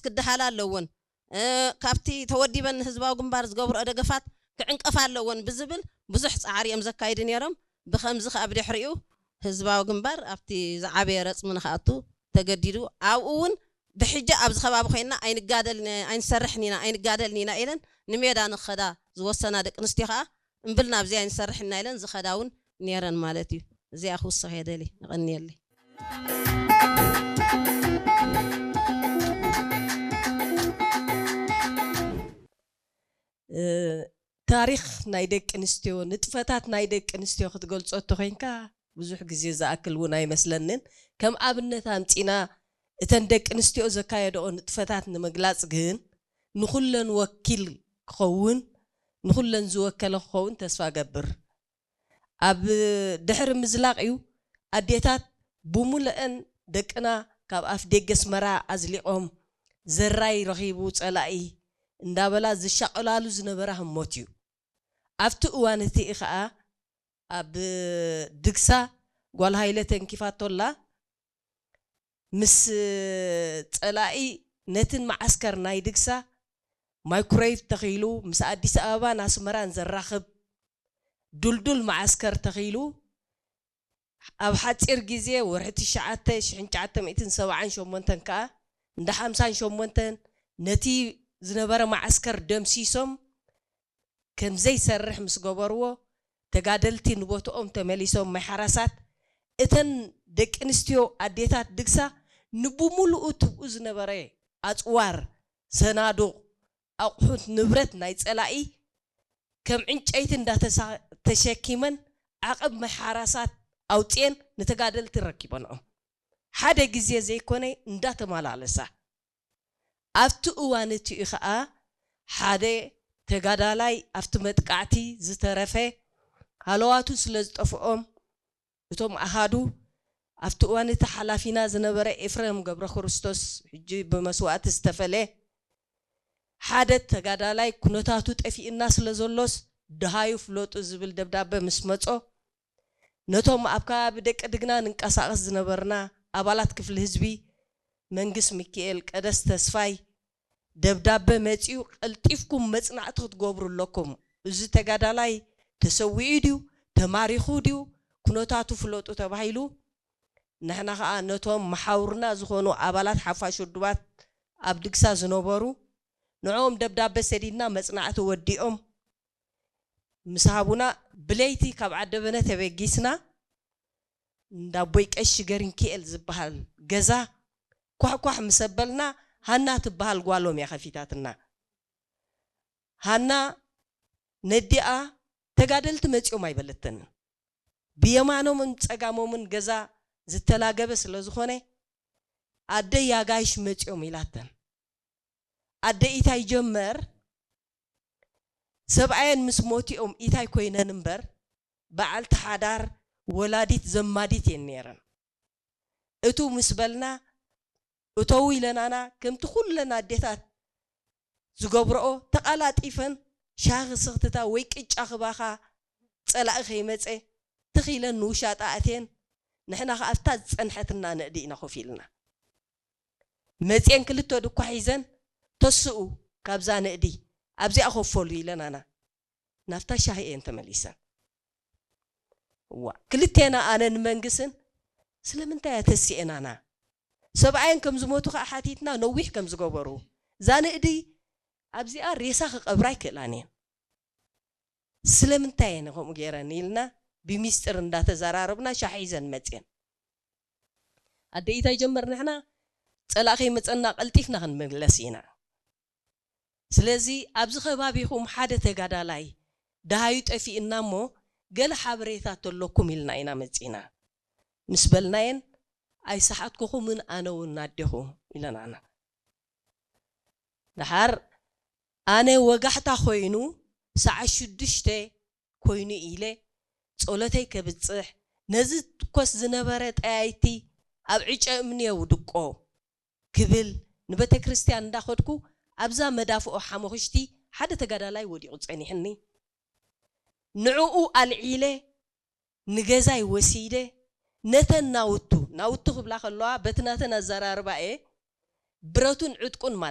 ክደሃላ ኣለወን። እ፣ ካብቲ ተወዲበን ንህዝባዊ ግንባር ዝገብርኦ ደገፋት ክዕንቀፋ ኣለወን ብዝብል ብዙሕ ጻዕሪ እዮም ዘካይዱ ነይሮም። ብኸምዚ ከኣ ብድሕሪኡ ህዝባዊ ግንባር ኣብቲ ዝዓበየ ረጽሚ ንኽኣቱ ተገዲዱ። ኣብኡ እውን ብሕጂ ኣብዚ ከባቢ ኮይንና ኣይንጋደልን፣ ኣይንሰርሕን ኢና፣ ኣይንጋደልን ኢና ኢለን ንሜዳ ንኸዳ ዝወሰና ደቂ ኣንስትዮ ከኣ እምብል ናብዚ ኣይንሰርሕን ኢና ኢለን ዝኸዳ እውን ነይረን ማለት እዩ። እዚኣ ክውስኽ እየ ደሊ። የቐንየለይ። እ፣ ታሪኽ ናይ ደቂ ኣንስትዮ፣ ንጥፈታት ናይ ደቂ ኣንስትዮ ክትገልጾ እንተኾይንካ ብዙሕ ግዜ ዝኣክል እውን ኣይመስለንን። ከም ኣብነት ኣምጺና እተን ደቂ ኣንስትዮ ዘካየደኦ ንጥፈታት ንምግላጽ ግን ንኹለን ወኪል ክኸውን፣ ንኹለን ዝወከለ ክኸውን ተስፋ ገብር። ኣብ ድሕሪ ምዝላቕ እዩ ኣዴታት ብሙሉአን ደቅና ካብ ኣፍ ደገ ኣስመራ ኣዝሊቖም ዘራይ ረኺቡ ጸላኢ እንዳበላ ዝሻቐላሉ ዝነበራ ህሞት እዩ። ኣብቲ እዋን እቲ ኸኣ ኣብ ድግሳ ጓል ሃይለ ተንኪፋቶላ ምስ ጸላኢ ነትን መዓስከር ናይ ድግሳ ማይክሮዌቭ ተኺሉ ምስ ኣዲስ ኣበባን ኣስመራን ዘራኽብ ዱልዱል መዓስከር ተኺሉ ኣብ ሓጺር ግዜ ወርሒ ትሽዓተ ሽሕን ትሽዓተ ሚእትን ሰብዓን ሸሞንተን ከኣ እንዳ ሓምሳን ሸሞንተን ነቲ ዝነበረ መዓስከር ደምሲሶም ከም ዘይሰርሕ ምስ ገበርዎ ተጋደልቲ ንቦትኦም ተመሊሶም ማይ ሓራሳት እተን ደቂ ኣንስትዮ ኣዴታት ድግሳ ንብሙሉኡ ትብኡ ዝነበረ ኣጽዋር ሰናዱቕ ኣቑሑት ንብረት ናይ ጸላኢ ከም ዕንጨይቲ እንዳተሳ- ተሸኪመን ዓቐብ ማይ ሓራሳት ኣውፅኤን ንተጋደልቲ ረኪበንኦም ሓደ ግዜ ዘይኮነ እንዳተመላለሳ ኣብቲ እዋን እቲኡ ኸዓ ሓደ ተጋዳላይ ኣብቲ መጥቃዕቲ ዝተረፈ ሃለዋቱ ስለ ዝጠፍኦም እቶም ኣሃዱ ኣብቲ እዋን እቲ ሓላፊና ዝነበረ ኤፍሬም ገብረ ክርስቶስ ሕጂ ብመስዋእቲ ዝተፈለ ሓደ ተጋዳላይ ኩነታቱ ጠፊእና ስለ ዘሎስ ደሃዩ ፍለጡ ዝብል ደብዳበ ምስ መጾ ነቶም ኣብ ከባቢ ደቂ ድግና ንንቀሳቐስ ዝነበርና ኣባላት ክፍሊ ህዝቢ መንግስ ሚካኤል ቀደስ ተስፋይ ደብዳበ መጺኡ ቀልጢፍኩም መጽናዕቲ ክትገብሩ ኣለኩም። እዚ ተጋዳላይ ተሰዊኡ ድዩ ተማሪኹ ድዩ ኩነታቱ ፍለጡ ተባሂሉ ንሕና ኸዓ ነቶም መሓውርና ዝኾኑ ኣባላት ሓፋሽ ውድባት ኣብ ድግሳ ዝነበሩ ንዕኦም ደብዳበ ሰዲድና መጽናዕቲ ወዲኦም ምስ ሃቡና ብለይቲ ካብ ዓደበነ ተበጊስና እንዳ ኣቦይ ቀሺ ገሪንኪኤል ዝበሃል ገዛ ኳሕኳሕ ምስ ኣበልና ሃና ትበሃል ጓሎም እያ ከፊታትና። ሃና ነዲኣ ተጋደልቲ መጺኦም ኣይበለተንን። ብየማኖምን ጸጋሞምን ገዛ ዝተላገበ ስለ ዝኾነ ኣደ ያጋይሽ መጺኦም ኢላተን። ኣደ ኢታይ ጀመር ሰብኣየን ምስ ሞቲኦም ኢታይ ኮይነን እምበር በዓልቲ ሓዳር ወላዲት ዘማዲት እየን ነይረን። እቱ ምስ በልና እተው ኢለናና ከምቲ ኩለን ኣዴታት ዝገብረኦ ተቓላጢፈን ሻሂ ክስኽትታ ወይ ቅጫ ክባኻ ጸላኢ ከይመጸ ትኺለን ንውሻጣ ኣትየን ንሕና ከኣ ኣብታ ዝጸንሐትና ንእዲ ኢና ኮፍ ኢልና መጽየን ክልተ ድኳ ሒዘን ተስኡ ካብዛ ንእዲ ኣብዚኣ ኮፈሉ ኢለናና ናብታ ሻሂ እየን ተመሊሰን ዋ ክልቴና ኣነን መንግስን ስለምንታይ እያ ተሲኤናና ሰብኣየን ከም ዝሞቱ ከዓ ሓቲትና ነዊሕ ከም ዝገበሩ እዛ ንእዲ ኣብዚኣ ሬሳ ክቀብራ ኣይክእላን እየን ስለምንታይ እየን ከምኡ ገይረን ኢልና ብሚስጥር እንዳተዘራረብና ሻሂ ሒዘን መፅየን ኣደ ኢታይ ጀመር ንሕና ፀላእ ከይመፀና ቀልጢፍና ክንምለስ ኢና ስለዚ ኣብዚ ከባቢኹም ሓደ ተጋዳላይ ደሃዩ ጠፊእና እሞ ገለ ሓበሬታ ተለኩም ኢልና ኢና መፂና ምስ በልናየን ኣይሰሓትኩኹምን ኣነ እውን ኣዴኹ ኢለናና ደሓር ኣነ ወጋሕታ ኮይኑ ሰዓት ሽዱሽተ ኮይኑ ኢለ ጸሎተይ ከብጽሕ ነዚ ትኮስ ዝነበረ ጠያይቲ ኣብ ዕጨ እምኒ የውድቆ ክብል ንቤተ ክርስቲያን እንዳኸድኩ ኣብዛ መዳፍኦ ሓሞኽሽቲ ሓደ ተጋዳላይ ወዲቑ ጸኒሕኒ ንዕኡ ኣልዒለ ንገዛይ ወሲደ ነተን ናውቱ ናውቱ ክብላ ከለዋ በቲ ናተን ኣዘራርባ እየ ብረቱን ዕጥቁን ማለት